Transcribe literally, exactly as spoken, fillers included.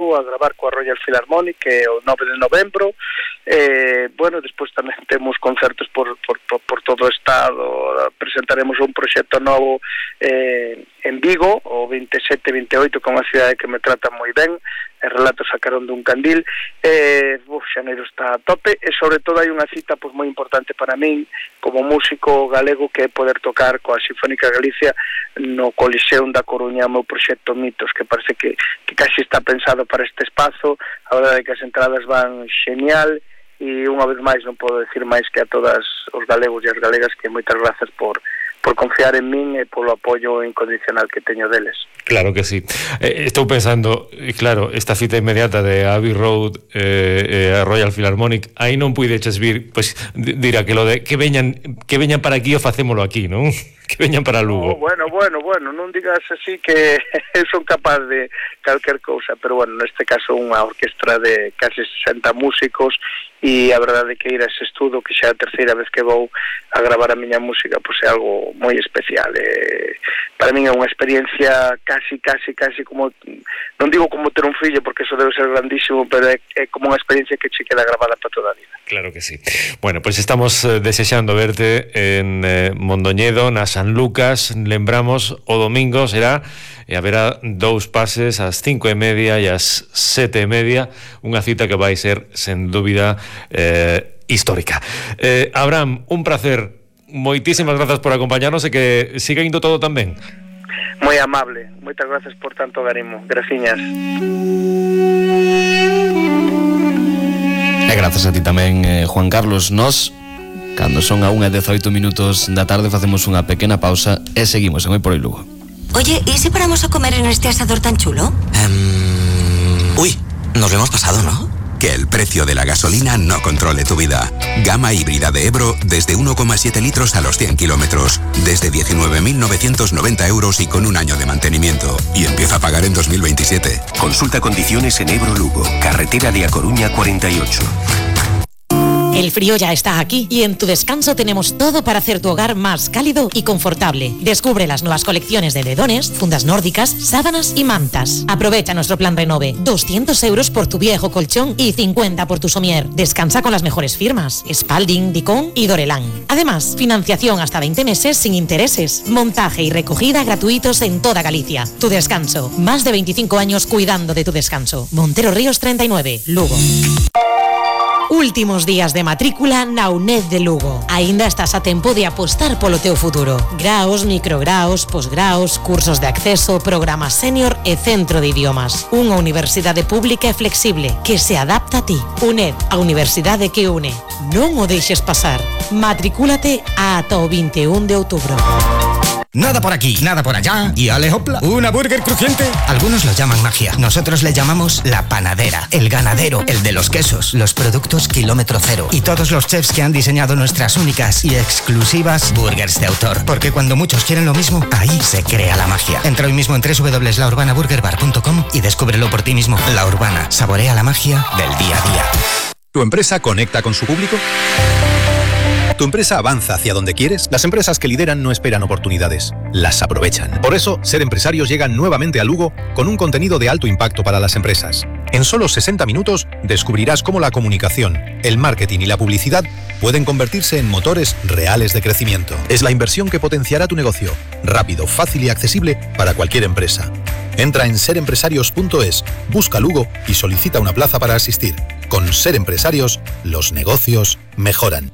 Vigo a gravar coa Royal Philharmonic que é o nove de novembro. Eh, bueno, despois tamén temos concertos por, por, por, por todo o estado. Presentaremos un proxecto novo eh, en Vigo o veintisiete e veintiocho, que é unha cidade que me trata moi ben. E relatos sacaron dun candil. eh, uf, xaneiro está a tope e sobre todo hai unha cita pois, moi importante para min como músico galego, que é poder tocar coa Sinfónica Galicia no Coliseum da Coruña, o meu proxecto Mitos, que parece que, que casi está pensado para este espazo. A verdade é que as entradas van genial e unha vez máis non podo decir máis que a todas os galegos e as galegas que moitas grazas por por confiar en min e polo apoio incondicional que teño deles. Claro que sí. Eh, estou pensando, claro, esta cita inmediata de Abbey Road eh, eh, a Royal Philharmonic, aí non puideches vir, pois dirá que lo de que veñan que veñan para aquí o facémolo aquí, non? Que veñan para Lugo. Oh, bueno, bueno, bueno, non digas así que son capaz de calquer cousa, pero bueno, neste caso unha orquestra de casi sesenta músicos e a verdade é que ir a ese estudo, que xa é a terceira vez que vou a gravar a miña música, pois é algo moi especial. Eh, para min é unha experiencia casi, casi, casi como, non digo como ter un fillo, porque eso debe ser grandísimo, pero é, é como unha experiencia que che queda grabada para toda a vida. Claro que sí. Bueno, pois pues estamos eh, desexando verte en eh, Mondoñedo, na San Lucas. Lembramos, o domingo será e haberá dous pases ás cinco e media e ás sete e media, unha cita que vai ser, sen dúbida, eh, histórica. Eh, Abraham, un placer, moitísimas grazas por acompañarnos e que siga indo todo tan ben. Moi amable, moitas grazas por tanto garimo, graciñas. E grazas a ti tamén, eh, Juan Carlos. Nos, cando son a unha e dezaoito minutos da tarde, facemos unha pequena pausa e seguimos en Hoy por Hoy Lugo. Oye, ¿y si paramos a comer en este asador tan chulo? Um, uy, nos lo hemos pasado, ¿no? Que el precio de la gasolina no controle tu vida. Gama híbrida de Ebro desde uno coma siete litros a los cien kilómetros. Desde diecinueve mil novecientos noventa euros y con un año de mantenimiento. Y empieza a pagar en dos mil veintisiete. Consulta condiciones en Ebro Lugo. Carretera de A Coruña cuarenta y ocho. El frío ya está aquí y en Tu Descanso tenemos todo para hacer tu hogar más cálido y confortable. Descubre las nuevas colecciones de edredones, fundas nórdicas, sábanas y mantas. Aprovecha nuestro plan Renove. doscientos euros por tu viejo colchón y cincuenta por tu somier. Descansa con las mejores firmas: Spalding, Dicon y Dorelán. Además, financiación hasta veinte meses sin intereses. Montaje y recogida gratuitos en toda Galicia. Tu Descanso. Más de veinticinco años cuidando de tu descanso. Montero Ríos treinta y nueve, Lugo. Últimos días de matrícula na UNED de Lugo. Aínda estás a tempo de apostar polo teu futuro. Graos, micrograos, posgraos, cursos de acceso, programa senior e centro de idiomas. Unha universidade pública e flexible que se adapta a ti. UNED, a universidade que une. Non o deixes pasar. Matricúlate ata o vinte e un de outubro. Nada por aquí, nada por allá y ale hopla, una burger crujiente. Algunos lo llaman magia, nosotros le llamamos la panadera, el ganadero, el de los quesos, los productos kilómetro cero y todos los chefs que han diseñado nuestras únicas y exclusivas burgers de autor. Porque cuando muchos quieren lo mismo, ahí se crea la magia. Entra hoy mismo en doble u doble u doble u punto la urbana burger bar punto com y descúbrelo por ti mismo. La Urbana, saborea la magia del día a día. ¿Tu empresa conecta con su público? ¿Tu empresa avanza hacia donde quieres? Las empresas que lideran no esperan oportunidades, las aprovechan. Por eso, Ser Empresarios llega nuevamente a Lugo con un contenido de alto impacto para las empresas. En solo sesenta minutos descubrirás cómo la comunicación, el marketing y la publicidad pueden convertirse en motores reales de crecimiento. Es la inversión que potenciará tu negocio, rápido, fácil y accesible para cualquier empresa. Entra en ser empresarios punto es, busca Lugo y solicita una plaza para asistir. Con Ser Empresarios, los negocios mejoran.